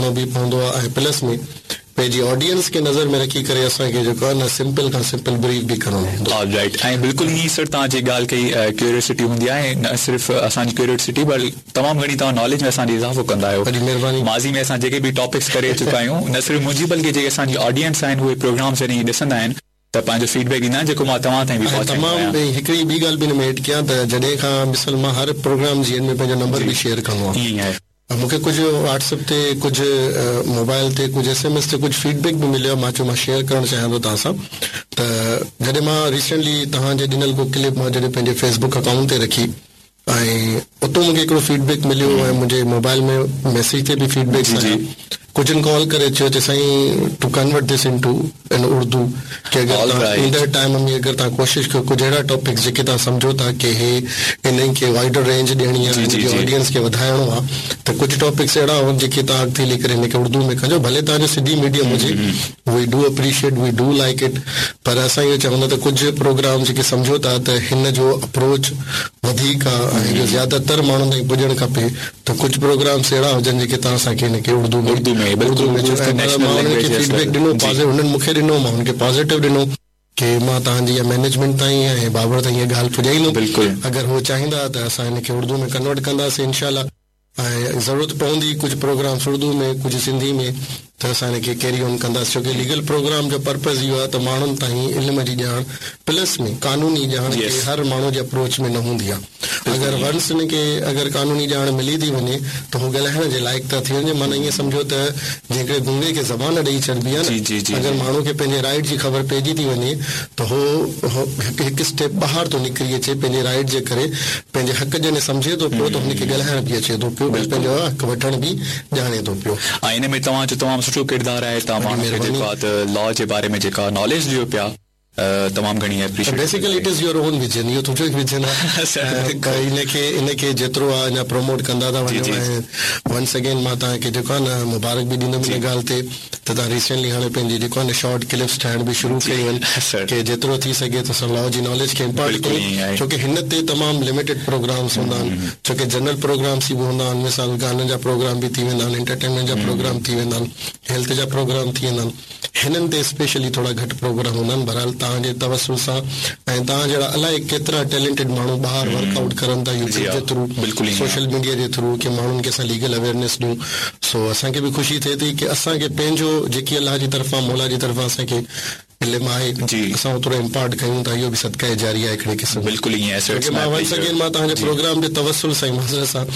ڪرڻو به پوندو آهي ۽ پلس ۾ پنهنجي آڊينس کي نظر ۾ رکي ڪري اسان کي جيڪو آهي نه سمپل کان سمپل بريف به ڪرڻو هوندو آهي. آل رائيٽ ۽ بلڪل ائين ئي سر توهان جيڪي ڳالهه ڪئي ڪيوريوسٽي هوندي آهي نه صرف اسان جي ڪيوريوسٽي بلڪ تمام گهڻي توهان ناليج ۾ اسان جي اضافو ڪندا آهيو. وڏي مهرباني. ماضي ۾ اسان جيڪي به ٽاپڪس ڪري چڪا آهيون نه صرف منهنجي بلڪه جيڪي اسان جي آڊينس آهن اهي پروگرامس جڏهن هي ڏسندا آهن ته پنهنجو فيڊ بيڪ ڏيندا آهن جيڪو مان توهان تائين به ۽ پهچائيندو تمام آهيان. ٻي هڪڙي ٻي ڳالهه به هن ۾ ايڊ ڪيان ته جڏهن کان مثال مان هر پروگرام جي اينڊ ۾ پنهنجو نمبر جي به شيئر ڪندو آهيان. ائين ئي آهي. مون کي ڪجهه واٽس اپ تي ڪجهه موبائل تي ڪجهه ايس ايم ايس تي ڪجهه فيڊ بيڪ به مليو آهي مان چيو مان شيئر ڪرڻ چاهيان ٿو توهان سان ته جڏهن مان ريسينٽلي توهان جي ڏنل ڪو ڪلپ مان جڏهن پنهنجي فيس بڪ اڪائونٽ تي رکي ۽ اتو مون کي هڪڙو فيڊ بيڪ مليو ۽ منهنجي موبائل ۾ ميسيج تي به فيڊ بيڪس جي جي آيا ڪجهن ڪال ڪري چيو چي سائين to convert this into in Urdu ڪي اگر آل توهان رائيٽ ايندڙ ٽائيم ۾ اگر توهان ڪوشش ڪيو ڪجهه اهڙا ٽاپڪس جيڪي توهان سمجهو ٿا ڪي هي انهن کي وائيڊر رينج ڏيڻي آهي جي هن جي جي جي آڊينس کي وڌائڻو آهي ته ڪجهه ٽاپڪس اهڙا هجن جيڪي توهان اڳتي هلي ڪري هن کي اردو ۾ ڪجو ڀلي توهان جو سنڌي ميڊيم هجي we do appreciate we do like it پر اسان اهو چاهيون ٿا ته ڪجهه پروگرام جيڪي سمجهو ٿا ته هن جو اپروچ وڌيڪ آهي ۽ اهو زياده تر ماڻهن تائين پڄڻ کپي ته ڪجهه پروگرامس اهڙا هجن جيڪي توهان اسان کي هن کي اردو ۾ اردو ۾ اردو بلڪل ۾ اردو چيو از the ۽ national مان انهن لينگويج کي ايز فيڊ بيڪ ويل ڏنو جي پازيٽو هنن مون کي ڏنو مان هن کي پازيٽو ڏنو ڪي مان توهان جي اها مئنيجمينٽ تائين ۽ بابر تائين اها ڳالهه پڄائيندم بلڪل اگر هو چاهيندا ته اسان هن کي اردو ۾ ڪنورٽ ڪنداسين انشاء الله ۽ ضرورت پوندي ڪجهه پروگرامس اردو ۾ ڪجهه سنڌي ۾ ته اسان هن کي ڪيري آن ڪنداسين ڇو ڪي ليگل پروگرام جو پرپز اهو آهي ته ماڻهن تائين علم جي ڄاڻ پلس ۾ قانوني ڄاڻ ڪي يس هر ماڻهو جي اپروچ ۾ نه هوندي آهي بلڪل اگر ائين ونس هن کي اگر قانوني ڄاڻ ملي ٿي وڃي ته هو ڳالهائڻ جي لائق ٿا ٿي وڃن معنيٰ ائين سمجهو ته جيئن هڪڙي گونگي کي زبان ڏئي ڇڏبي آهي جي جي نه جي اگر جي ماڻهو کي پنهنجي رائيٽ جي خبر پئجي ٿي وڃي ته هو هڪ هڪ اسٽيپ ٻاهر ٿو نڪري اچي پنهنجي رائيٽ جي ڪري پنهنجي حق جڏهن سمجهي ٿو پيو ته هن کي ڳالهائڻ به اچي ٿو پيو ۽ بلڪل پنهنجو حق وٺڻ به ڄاڻي ٿو پيو. ۽ ان ۾ توهان جو تمام سٺو ڪردار آهي توهان وڏي ماڻهن کي مهرباني. جيڪو آهي ته لا جي باري ۾ جيڪا ناليج ڏيو پيا تمام گهڻي اپريشيئيٽ بيسيڪلي آهي. It is your own vision اهو تنهنجو ئي ويزن آهي سر ۽ بلڪل ان کي ان کي جيترو آهي اڃا پروموٽ ڪندا ٿا جي وڃو جي ۽ ونس اگين مان توهان کي جيڪو آهي نه مبارڪ به ڏيندم جي ان ڳالهه تي ته توهان ريسينٽلي هاڻي پنهنجي جيڪو آهي نه شارٽ ڪلپس ٺاهڻ به شروع جي ڪيون آهن سر ڪي جيترو ٿي سگهي ته اسان لا جي ناليج کي امپارٽ بلڪل ڪيون ائين آهي ڇو ڪي هن تي تمام لميٽيڊ پروگرامس هوندا آهن ڇو ڪي جنرل پروگرامس ئي به هوندا آهن مثال گانن جا پروگرام به ٿي ويندا آهن انٽرٽينمينٽ جا پروگرام ٿي ويندا آهن هيلٿ جا پروگرام ٿي ويندا آهن هنن تي اسپيشلي ٿورا گهٽ پروگرام هوندا آهن بهرحال توهان جي توسل سان ۽ توهان جهڙا الائي ڪيترا ٽيلنٽيڊ ماڻهو ٻاهر ورڪ آئوٽ ڪرن ٿا جي يوٽيوب ها جي ٿرو بلڪل ائين سوشل ميڊيا جي ٿرو ڪي ماڻهن کي اسان ليگل اويئرنيس ڏيون سو اسان کي به خوشي ٿئي ٿي ڪي اسان کي پنهنجو جيڪي الله جي طرفان مولا جي طرفان اسان کي علم آهي جي اسان اوترو امپارٽ ڪيون ٿا اهو به صدقه جاريه آهي هڪڙي قسم جو بلڪل ائين آهي سر ڇو it's ڪي ماء مان ونس پليزر اگين مان توهان جي جي پروگرام جي توسل سان معذرت سان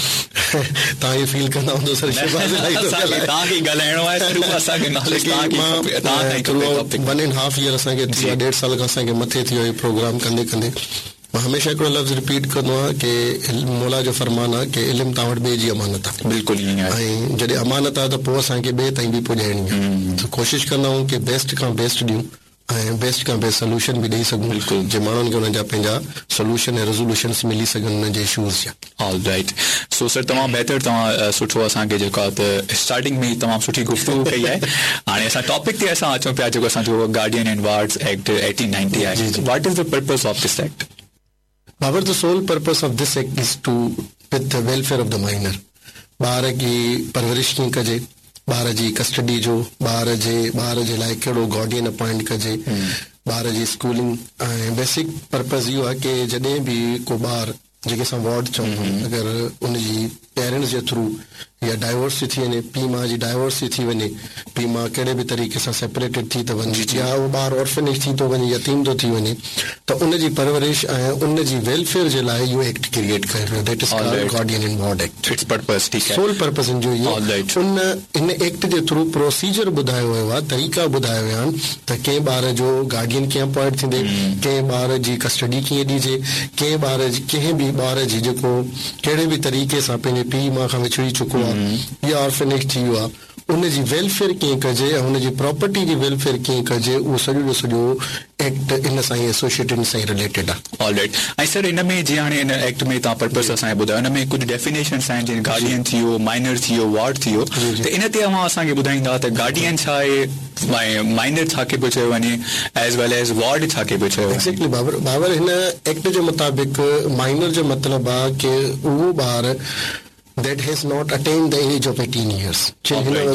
توهان اهو فيل ڪندا هوندو سر نه شهباز الاهي ٿو اسان کي ڳالهائي توهان کي ئي ڳالهائڻو آهي سر اهو اسان کي ڇو ناليج ڪي توهان کي ئي مان کپي توهان کان ئي ٿرو کپي out topic one and half year اسان کي ٿي جي ويو آهي ڏيڍ سال کان اسان کي مٿي ٿي ويو آهي پروگرام ڪندي ڪندي مان هميشه هڪڙو لفظ رپيٽ ڪندو آهيان ڪي مولا جو فرمان آهي ڪي علم توهان وٽ ٻئي جي امانت آهي. بلڪل ائين آهي. ۽ جڏهن امانت آهي ته پوء اسان کي ٻئي تائين به پڄائڻي آهي ته ڪوشش ڪندا آهيون ڪي بيسٽ کان بيسٽ ڏيون ۽ بيسٽ کان بيسٽ سلوشن به ڏئي سگهون بلڪل. جي ماڻهن کي انهن جا پنهنجا سلوشن ۽ ريزولوشنس ملي سگهن انهن جي اشوز جا. آل رائيٽ سو سر تمام بهتر توهان سٺو اسان کي جيڪو آهي ته اسٽارٽنگ ۾ ئي تمام سٺي گفتگو ڪئي آهي هاڻي اسان ٽاپڪ تي اسان اچون پيا جيڪو اسان جو گارڊين اينڊ وارڊز ايڪٽ 1890 آهي جي جي. What is the purpose of this act? Babar the sole purpose of this act is to with the welfare of the minor ٻار جي پرورش ڪيئن ڪجي ٻار جي ڪسٽڊي جو ٻار جي ٻار جي لاء ڪهڙو گارڊين اپائنٽ ڪجي ٻار جي اسڪولنگ ۽ بيسڪ پرپز اهو آهي ڪي جڏهن به ڪو ٻار جيڪي اسان وارڊ چئون ٿا اگر ان جي پيرنٽس جي ٿرو يا ڊائيورس ٿي ٿي وڃي پيء ماء جي ڊائيورس ٿي ٿي وڃي پيء ماء ڪهڙي به طريقي سان سيپريٽيڊ ٿي ٿو وڃي يا اهو ٻار اورفنيج ٿي ٿو وڃي يتيم ٿو ٿي وڃي ته ان جي پرورش ۽ ان جي ويلفيئر جي لاء اهو ايڪٽ ڪريئيٽ ڪيو ويو that is called guardian and ward act. It's purpose ٺيڪ آهي. سول پرپز ان جو اهو ان ان ايڪٽ جي ٿرو پروسيجر ٻڌايو ويو آهي طريقا ٻڌايا ويا آهن ته ڪنهن ٻار جو گارڊين ڪيئن اپوائنٽ ٿيندي ڪنهن ٻار جي ڪسٽڊي ڪيئن ڏجي ڪنهن ٻار جي ڪنهن به ٻار جي جيڪو ڪهڙي به طريقي سان پنهنجي پيء ماء کان وڇڙي چڪو آهي يا آرفنيج ٿي ويو آهي ان جي ويلفيئر ڪيئن ڪجي ۽ ان جي پراپرٽي جي ويلفيئر ڪيئن ڪجي اهو سڄو جو سڄو ايڪٽ ان سان ئي ايسوشيٽيڊ ان سان ئي رليٽيڊ آهي. آل رائيٽ ۽ سر ان ۾ جيئن هاڻي ان ايڪٽ ۾ توهان پرپس اسان کي ٻڌايو ان ۾ ڪجهه ڊيفينيشنس آهن جيئن گارڊين ٿي ويو مائنر ٿي ويو وارڊ ٿي ويو ته ان تي اوهان اسان کي ٻڌائيندا ته گارڊين ڇا آهي ۽ مائنر ڇا کي پيو چيو وڃي ايز ويل ايز وارڊ ڇا کي پيو چيو وڃي. ايگزيڪٽلي بابر بابر هن ايڪٽ جي مطابق مائنر جو مطلب آهي ڪي اهو ٻار that has not attained the age of 18 years جن هن وقت